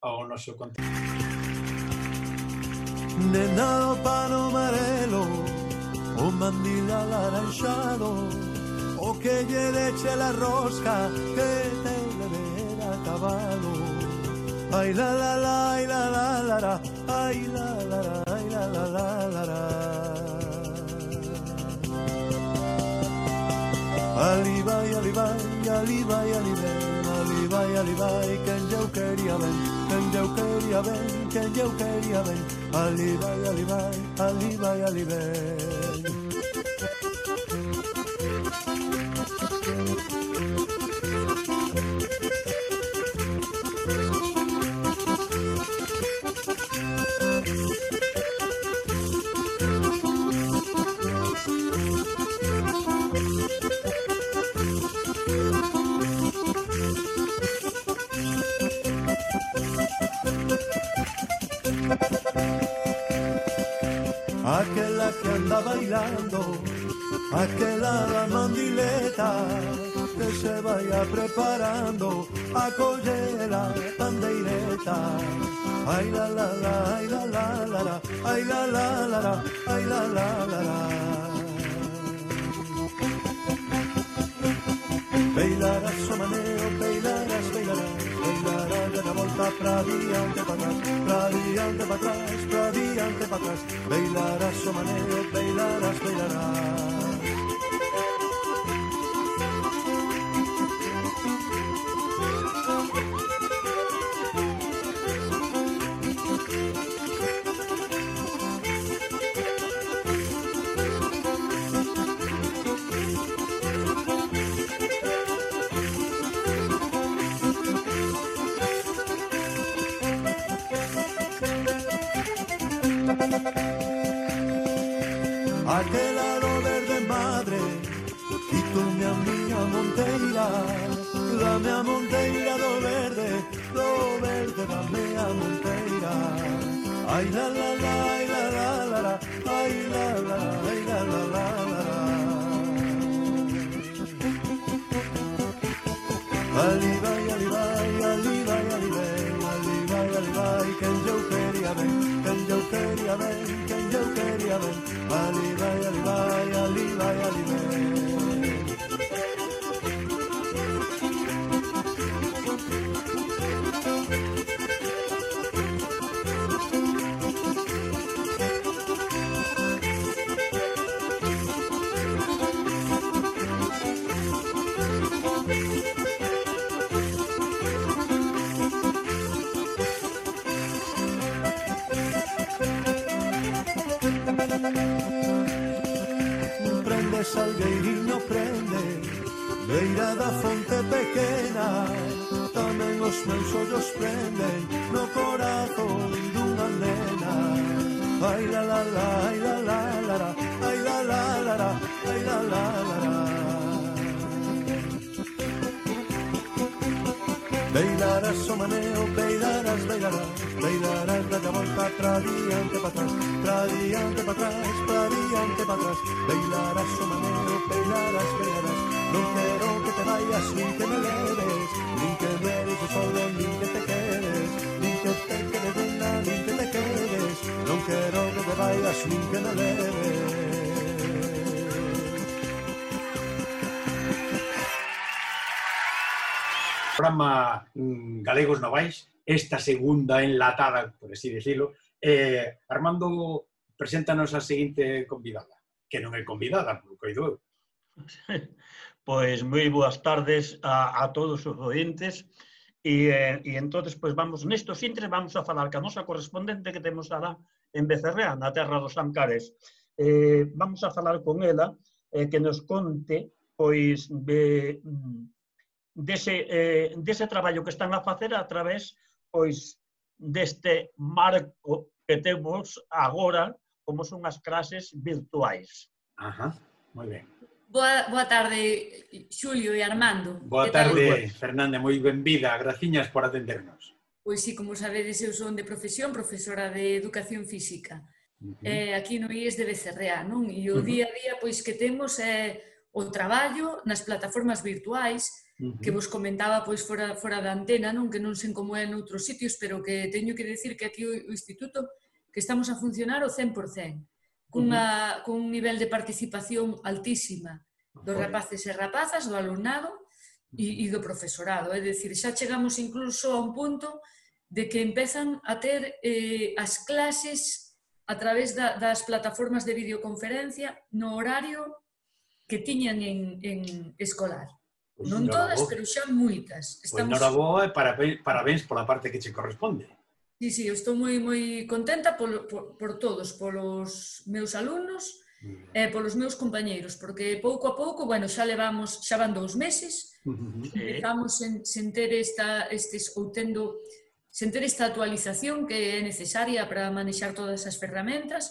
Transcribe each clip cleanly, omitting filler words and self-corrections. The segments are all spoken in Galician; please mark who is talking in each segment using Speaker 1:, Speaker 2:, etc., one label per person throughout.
Speaker 1: ao noso contenido.
Speaker 2: Nena do pano amarelo, o mandil alaranxado, o que lle deche la rosca que te leve a cabalo. Ai la la la, ai la la la la, ai la la la, ai la la la la la. Ali vai, ali vai, ali vai, ali vai, ali vai, ali vai, quen eu quería ben, quen eu quería ben, quen eu quería ben. Ali vai, ali vai, ali vai, ali vai. Aquela que anda bailando, aquela da mandileta, que se vaya preparando a coller la pandeireta. Ay la la la, ay la la la la, ay la la la la, ay la la la la. Bailarás o maneo, bailarás, bailarás, bailarás de la volta pra diante, pa atrás, pra diante, pa atrás, pra diante, pa atrás. Bailarás o maneo, bailarás, bailarás. Aquela do verde madre, quítome a miña monteira, dame a monteira do verde dame a monteira. Ai la la la, ai la la la la, ai la la, ai la la la la. Ali vai, ali vai, ali vai, ali vai, ali vai, ali vai, quen eu quería ben, quen eu quería ben, quen eu quería ben. Ali vai, ali vai, ali vai, ali vai. Prende salgueiriño, prende, beira da fonte pequena, tamén os meus ollos prenden no corazón dunha nena. Ai la la la, ai la la la la, ai la la la la, ai la la la la. Bailarás o maneo, bailarás, bailarás, bailarás da volta pra diante, pa atrás, pra diante, pa atrás, pra diante, pa atrás. Bailarás o maneo, bailarás, bailarás. Non quero que te vayas, nin que me leves, nin que me eres solo, nin que te quedes, nin que te quedes, nin que te quedes. Non quero que te vayas, nin que me leves.
Speaker 1: Programa Galegos Novais, esta segunda enlatada, por así decirlo. Armando, preséntanos a seguinte convidada, que non é convidada, por coido eu.
Speaker 3: Pois moi boas tardes a todos os ointes e entonces pois vamos nestos intres vamos a falar ca nosa correspondente que temos alá en Becerrea, na terra dos Ancares. Vamos a falar con ela que nos conte pois dese traballo que están a facer a través pois deste marco que temos agora como son as clases virtuais.
Speaker 1: Ajá, moi ben.
Speaker 4: Boa tarde, Xulio e Armando.
Speaker 1: Boa tarde, Fernanda, moi benvida. Graciñas por atendernos.
Speaker 4: Pois sí, como sabedes, eu son de profesión, profesora de Educación Física. Aquí no IES de Becerrea, non? E o día a día pois que temos é o traballo nas plataformas virtuais, que vos comentaba pois fora da antena, non, que non sei como é noutros sitios, pero que teño que decir que aquí o Instituto que estamos a funcionar o 100%, cun nivel de participación altísima dos rapaces e rapazas, do alumnado e do profesorado. É dicir, xa chegamos incluso a un punto de que empezan a ter as clases a través das plataformas de videoconferencia no horario que tiñan en escolar. Non todas, pero xa moitas.
Speaker 1: Pois noraboa e parabéns pola parte que che corresponde.
Speaker 4: Sí, eu estou moi contenta por todos, polos meus alumnos e polos meus compañeiros, porque pouco a pouco, bueno, xa van 2 meses, empezamos sen ter esta actualización que é necesaria para manexar todas as ferramentas,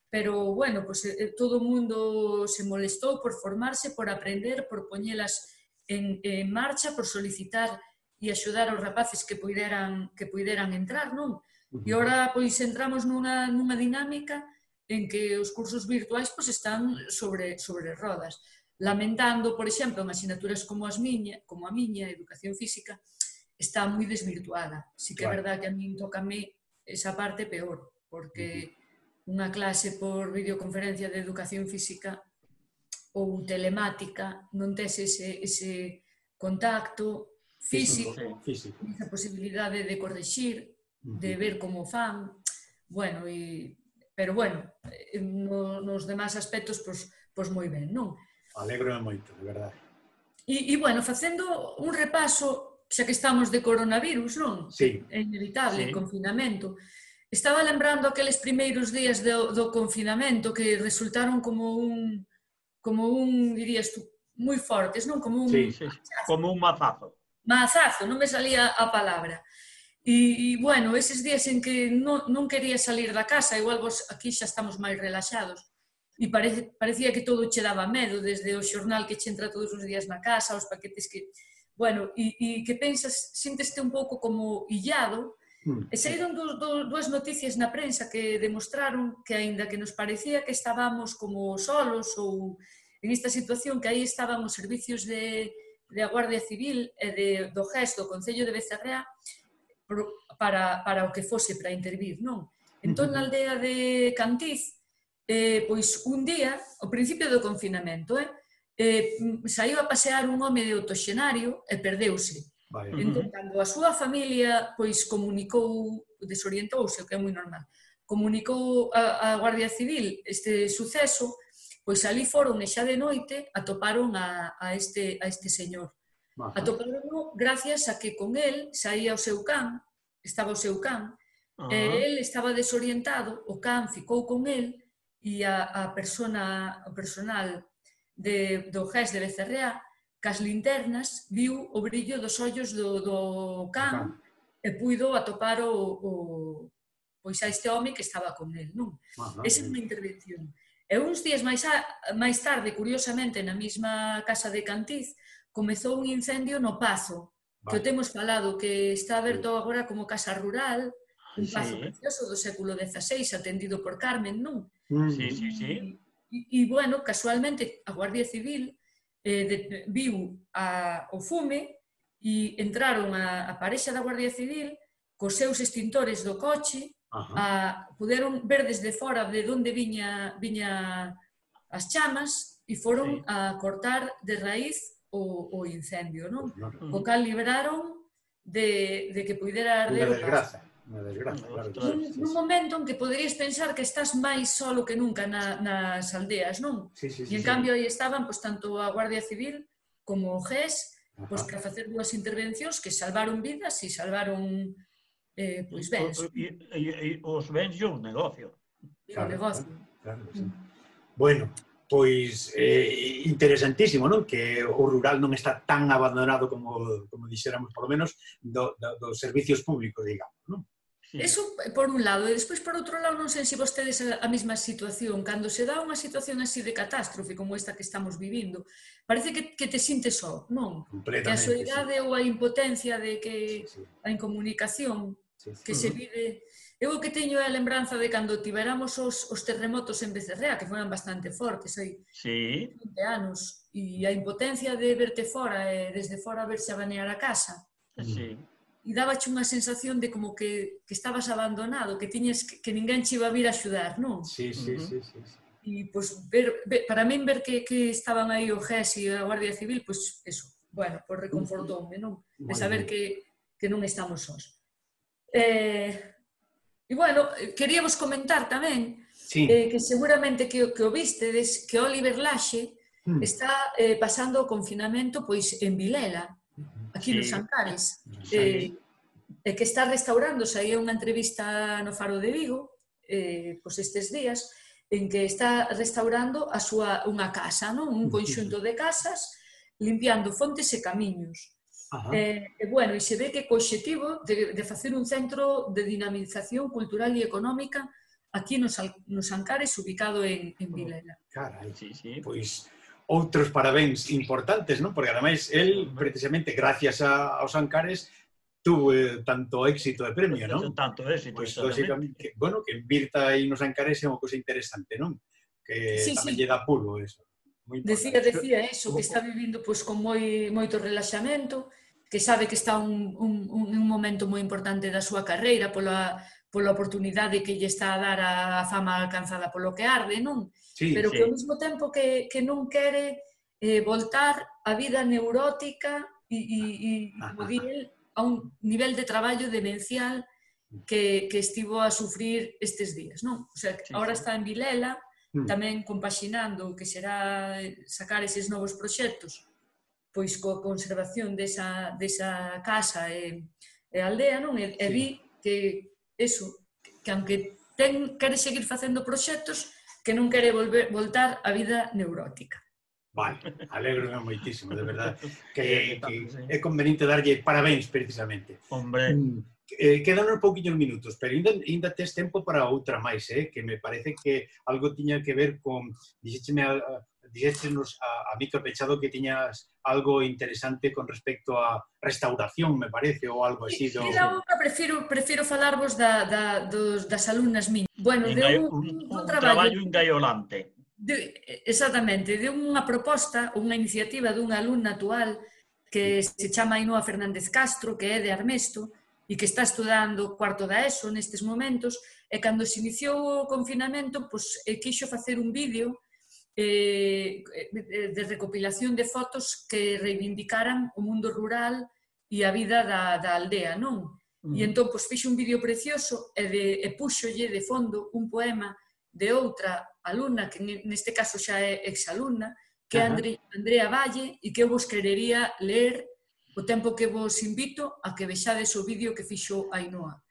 Speaker 4: pero, bueno, pues, todo o mundo se molestou por formarse, por aprender, por poñelas en marcha, por solicitar e axudar aos rapaces que puideran entrar, non? E agora, pois, entramos nunha dinámica en que os cursos virtuais pois, están sobre rodas. Lamentando, por exemplo, en asignaturas como a miña, Educación Física, está moi desvirtuada. Si que é verdad que a min tócame esa parte peor, porque unha clase por videoconferencia de Educación Física ou telemática non tes ese contacto físico, esa posibilidade de corrixir, de ver como fan, bueno, pero bueno, nos demais aspectos, pois moi ben, non?
Speaker 1: Alegro moito, de verdade.
Speaker 4: E, bueno, facendo un repaso, xa que estamos de coronavirus, non?
Speaker 1: Sí.
Speaker 4: É inevitable, confinamento. Estaba lembrando aqueles primeiros días do confinamento que resultaron como un, dirías tú, moi fortes, non? Como un
Speaker 3: mazazo.
Speaker 4: Mazazo, non me salía a palabra. E, bueno, eses días en que non quería salir da casa, igual vos aquí xa estamos máis relaxados, e parecía que todo che daba medo, desde o xornal que che entra todos os días na casa, os paquetes que... Bueno, e que pensas, sínteste un pouco como illado, e saíron dúas noticias na prensa que demostraron que, aínda que nos parecía que estábamos como solos ou en esta situación, que aí estaban os servicios de a Guardia Civil e do GES do Concello de Becerrea para o que fose, para intervir, non? Entón, na aldea de Cantiz, pois un día, ao principio do confinamento, saiu a pasear un home de autoxenario e perdeuse. Entón, cando a súa familia pois comunicou, desorientouse, o que é moi normal, comunicou a Guardia Civil este suceso, pois ali foron e xa de noite atoparon a este señor. Atoparon gracias a que con el saía o seu can, estaba o seu can, e el estaba desorientado, o can ficou con el e o personal do GES de Becerrea, cas linternas, viu o brillo dos ollos do can e puido atopar pois a este home que estaba con el, non? Esa é unha intervención. E uns días máis tarde, curiosamente, na mesma casa de Cantiz, comezou un incendio no Pazo, que o temos falado, que está aberto agora como casa rural, un pazo precioso do século XVI, atendido por Carmen, non?
Speaker 3: Sí.
Speaker 4: E, bueno, casualmente, a Guardia Civil viu o fume e entraron a parexa da Guardia Civil cos seus extintores do coche, puderon ver desde fora de onde viña as chamas e foron a cortar de raíz o incendio, non? O cal libraron de que pudera arder o paso.
Speaker 1: Unha desgraza, claro.
Speaker 4: Nun momento en que poderías pensar que estás máis solo que nunca nas aldeas, non? E en cambio aí estaban tanto a Guardia Civil como o GES para facer dúas intervencións que salvaron vidas e salvaron bens.
Speaker 3: E os bens e o negocio.
Speaker 4: O negocio.
Speaker 1: Bueno, pois interesantísimo, non? Que o rural non está tan abandonado como dixéramos, por lo menos, dos servicios públicos, digamos, non?
Speaker 4: Eso por un lado, e despois por outro lado non sei se vostedes a mesma situación, cando se dá unha situación así de catástrofe como esta que estamos vivindo, parece que te sintes só, non? Que a soidade ou a impotencia de que a incomunicación que se vive... Eu o que teño é a lembranza de cando tiveramos os terremotos en Becerrea, que foran bastante fortes, hai 20 anos, e a impotencia de verte fora, e desde fora verse a banear a casa. E dábache unha sensación de como que estabas abandonado, que tiñes que ninguén che iba a vir a axudar, non?
Speaker 1: Sí.
Speaker 4: E, pois, para min ver que estaban aí o GES e a Guardia Civil, pois, eso, bueno, pois reconfortoume, non? De saber que non estamos sós. E, bueno, queríamos comentar tamén que seguramente que o vistedes, que Oliver Laxe está pasando o confinamento pois en Vilela, aquí nos Ancares, e que está restaurándose. Aí unha entrevista no Faro de Vigo, pois estes días, en que está restaurando unha casa, non? Un conxunto de casas, limpiando fontes e camiños. E, bueno, e se ve que co obxectivo de facer un centro de dinamización cultural e económica aquí nos Ancares, ubicado en Vilela.
Speaker 1: Carai, pois outros parabéns importantes, non? Porque ademais, el, precisamente, gracias aos Ancares, tuvo tanto éxito de premio, non?
Speaker 3: Tanto éxito,
Speaker 1: pois, lógicamente, bueno, que invirta aí nos Ancares é unha cousa interesante, non? Que tamén lle dá pulo, eso.
Speaker 4: Decía eso, que está vivindo pois, con moito relaxamento, que sabe que está un momento moi importante da súa carreira pola oportunidade que lle está a dar a fama alcanzada polo que arde, non? Pero que ao mesmo tempo que non quere voltar a vida neurótica e como di el, a un nivel de traballo demencial que estivo a sufrir estes días, non? O sea, agora está en Vilela, tamén compaxinando o que será sacar eses novos proxectos, pois coa conservación desa casa e aldea, non? E vi que eso, que aunque quere seguir facendo proxectos, que non quere voltar á vida neurótica.
Speaker 1: Vale, alegro moitísimo, de verdade, que é conveniente darlle parabéns, precisamente.
Speaker 3: Hombre.
Speaker 1: Quedan uns pouquinhos minutos, pero ainda tes tempo para outra máis, que me parece que algo tiña que ver con... Dixéchenos a micro pechado que tiñas algo interesante con respecto a restauración, me parece, ou algo así.
Speaker 4: Prefiro falarvos das alumnas miñas. Bueno,
Speaker 3: un traballo engaiolante.
Speaker 4: Exactamente, de unha proposta, unha iniciativa dunha alumna actual que se chama Ainhoa Fernández Castro, que é de Armesto, e que está estudando cuarto da ESO nestes momentos, e cando se iniciou o confinamento, quixo facer un vídeo de recopilación de fotos que reivindicaran o mundo rural e a vida da aldea, non? E entón, fixo un vídeo precioso e púxolle de fondo un poema de outra alumna, que neste caso xa é exalumna, que é Andrea Valle, e que eu vos querería ler o tempo que vos invito a que vexades o vídeo que fixo Ainhoa.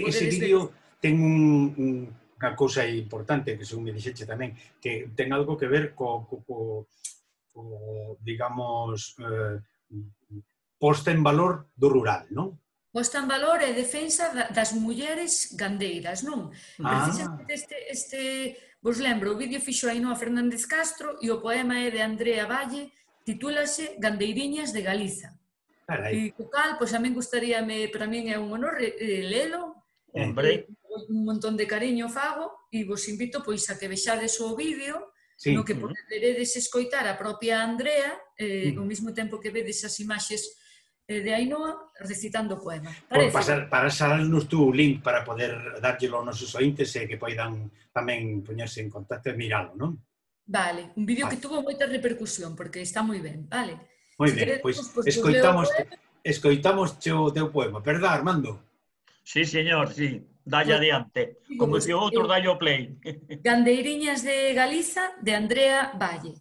Speaker 1: Ese vídeo ten unha cousa importante, que según me dixeche tamén, que ten algo que ver co digamos, posta en valor do rural, non?
Speaker 4: Posta en valor e defensa das mulleres gandeiras, non? Precisamente vos lembro, o vídeo fixo Ainhoa Fernández Castro e o poema é de Andrea Valle, titúlase Gandeiriñas de Galiza. E co cal, a min gustaríame, para min é un honor lelo, un montón de cariño fago, e vos invito a que vexades o vídeo, no que poderedes escoitar a propia Andrea, ao mesmo tempo que vedes as imaxes de Ainhoa recitando o poema.
Speaker 1: Pasarnos tú o link para poder dárllelo aos nosos ointes e que poidan tamén poñerse en contacto e miralo, non?
Speaker 4: Vale, un vídeo que tuvo moita repercusión, porque está moi ben, vale?
Speaker 1: Moi ben, pois escoitamos o teu poema, verdad, Armando?
Speaker 3: Sí, señor, sí. Dalle adiante. Como se outro dalle o play.
Speaker 4: Gandeiriñas de Galiza, de Andrea Valle.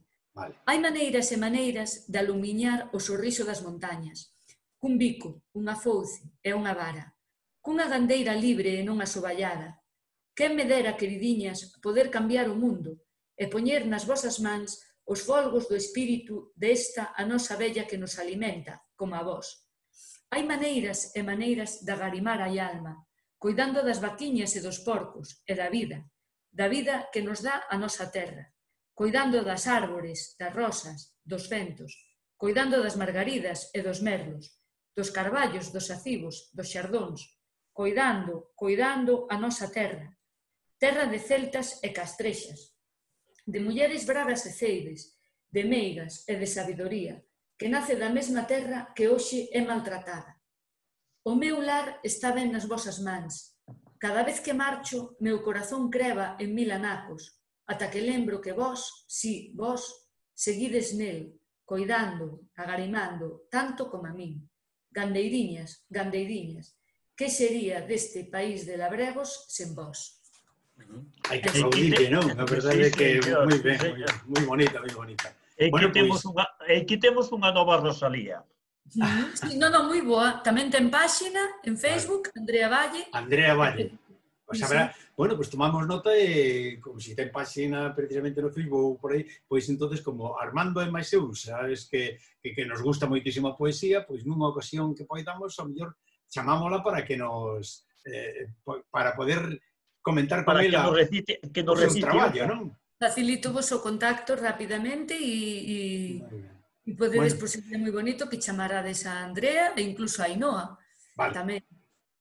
Speaker 4: Hai maneiras e maneiras de alumiñar o sorriso das montañas. Cun bico, unha fouce e unha vara. Cunha gandeira libre e non asoballada. Quen me dera, queridiñas, poder cambiar o mundo e poñer nas vosas mans os folgos do espírito desta a nosa vella que nos alimenta, como a vós. Hai maneiras e maneiras de agarimar a alma, coidando das vaquiñas e dos porcos e da vida que nos dá a nosa terra, coidando das árbores, das rosas, dos ventos, coidando das margaridas e dos merlos, dos carballos, dos acivos, dos xardóns, coidando a nosa terra, terra de celtas e castrexas, de mulleres bravas e ceibes, de meigas e de sabidoría, que nace da mesma terra que hoxe é maltratada. O meu lar está ben nas vosas mans. Cada vez que marcho, meu corazón creva en mil anacos, ata que lembro que vós, si, vos, seguides nel, coidando, agarimando, tanto como a min. Gandeiriñas, gandeiriñas, que sería deste país de labregos sen vos?
Speaker 1: Hai que aplaudirlle, non? A verdade é que moi ben, moi bonita, moi bonita.
Speaker 3: E aquí temos unha nova Rosalía.
Speaker 4: Sí, non, moi boa. Tamén ten páxina en Facebook, Andrea Valle.
Speaker 1: Andrea Valle. Pois habrá, bueno, pois tomamos nota e como se ten páxina precisamente no Facebook por aí, pois entonces como Armando e máis eu, sabes que nos gusta moitísimo a poesía, pois nunha ocasión que poidamos, ao mellor chamámola para que nos para poder comentar con ela
Speaker 3: que nos recite
Speaker 1: traballo, non?
Speaker 4: Facilito vos o contacto rapidamente e podedes, por ser moi bonito, que chamarades a Andrea e incluso a Ainhoa.
Speaker 1: Vale.
Speaker 4: Tamén.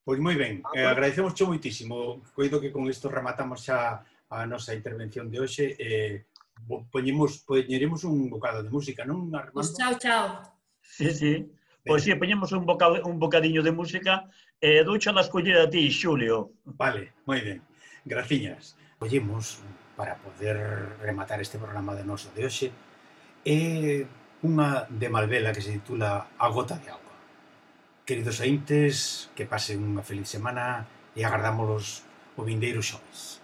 Speaker 1: Pois moi ben, agradecemos moitísimo. Coido que con isto rematamos xa a nosa intervención de hoxe e poñeremos un bocado de música, non, Armando?
Speaker 4: Pois chao.
Speaker 3: Sí. Pois sí, poñemos un bocadiño de música e doucha la escollida a ti, Xulio.
Speaker 1: Vale, moi ben. Graciñas. Collemos para poder rematar este programa de noso de hoxe é unha de Malvela que se titula A gota de auga. Queridos ointes, que pasen unha feliz semana e agardámolos o vindeiro xoves.